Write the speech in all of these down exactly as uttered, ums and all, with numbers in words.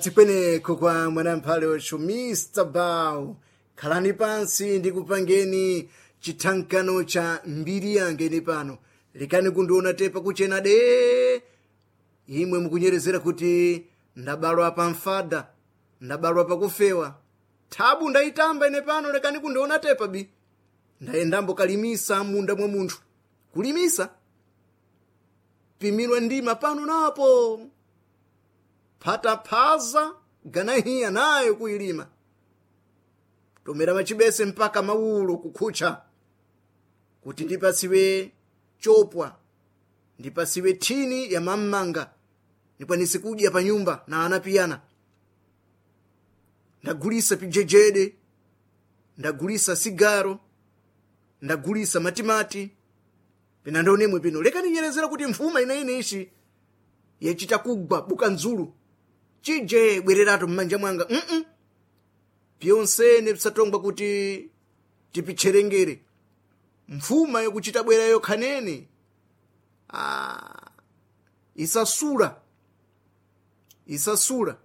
Tikweneko kwa mwanamphale wacho Mister Bow, khalani pansi ndikupangeni chithankano cha mbiri yange ine pano. Lekani kundiona tepa kuchena de imwe mukunyerezera kuti ndabalwa pa mfada, ndabalwa pakufewa. Thabu ndayitamba ine pano, lekani kundiona tepa bi. Ndayendambo kalimisa munda mwa munthu. Kulimisa pimirwa ndima pano napo phataphaza ganahiya nayo kuyilima, tomera machibese mpaka mawulo kukhutcha kuti ndipasiwe chopwa, ndipasiwe thini ya mammanga ndikwanise kudya pa nyumba na ana piyana. Ndagulisa pijejede, ndagulisa sigaro, ndagulisa matimati pina ndionemwe pino. Lekani nyerezera kuti mfuma ineine ishi yachita kugwa buka nzulu chije bwererato mmanja mwanga mm -mm. Pyonsene pisatongwa kuti tipitcherengere mfuma yokuchita bwera yokhanene. Ah, isasula isasula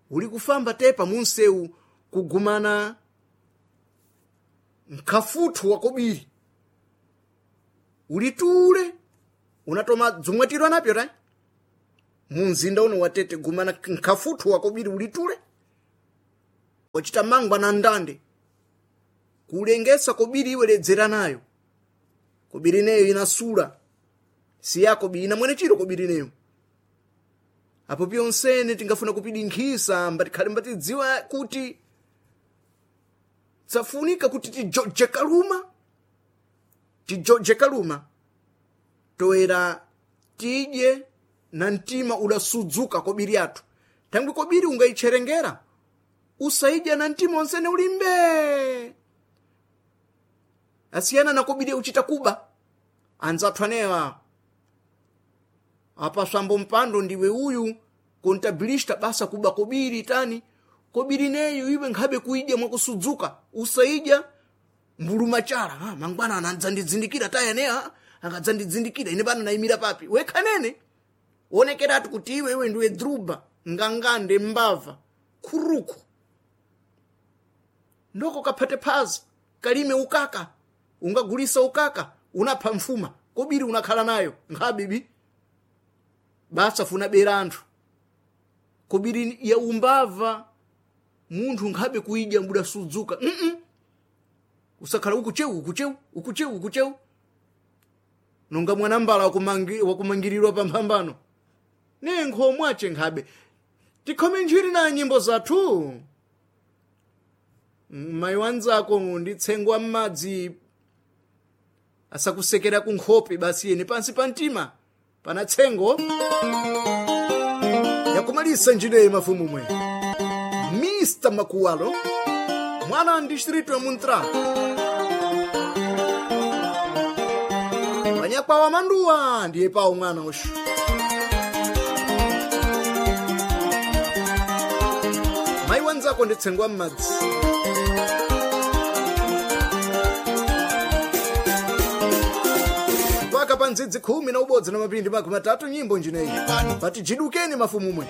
uli kufamba tepa munsewu kugumana nkafuthu wakobiri ulitule unatoma dzumwatirwa napyo ta munzinda uno watete gumana nkafuthu wakobiri ulitule wachita mangwa na ndande kulengesa kobiri iwe ledzera nayo kobiri neyo inasula si yako bi ina mwene chiro kobiri neyo. Apo pyonsene tingafuna kupidinkhisa mbatikhale mbatidziwa kuti tsafunika kuti tijoje kaluma, tijoje kaluma toera tidye na mtima udasudzuka kobiri athu. Thangwi kobiri ungayitcherengera usaidya na mtima onsene ulimbe asiyana na kobiri uchita kuba anzathu anewa apa swambo mpando ndiwe uyu kontabilista basa kuba kobiri tani kobiri neyo iwe nkhabe kuidya mwakusudzuka usaidya mbulumachala. Ha, mangwana anadzandidzindikira taya neha akadzandidzindikira ine pano nayimira papi wekhanene wonekeratu kuti iwe iwe ndiwe druba ngangande mbava khuruku ndoko kaphate phazi kalime ukaka ungagulisa ukaka unapha mfuma kobiri unakhala nayo nkhabibi basa funa bera anthu kobiri ya umbava munthu nkhabe kuidya mbuda sudzuka mm -mm. Usakhala ukuchewu ukuchewu ukuchewu ukuchewu nonga mwanambala wakumangi, wakumangirirwa pamphambano ne nkhomwe ache nkhabe tikhome njiri na nyimbo zathu. Mayi wanzako ndi tsengo wa m'madzi asakusekera kunkhope basi yene pansi pa mtima pana tsengo yakumalisa njineyi mafumumwe Mister Makuwalo mwana wa distrito ya Muntra panyakwawa manduwa ndiye pawo mwana ushu. Mayi wanzako ndi tsengo wa m'madzi mpaka pa ndzidzi khumi na ubodzi na mapindi makumi atatu nyimbo njineyi pati jidukeni mafumumwe.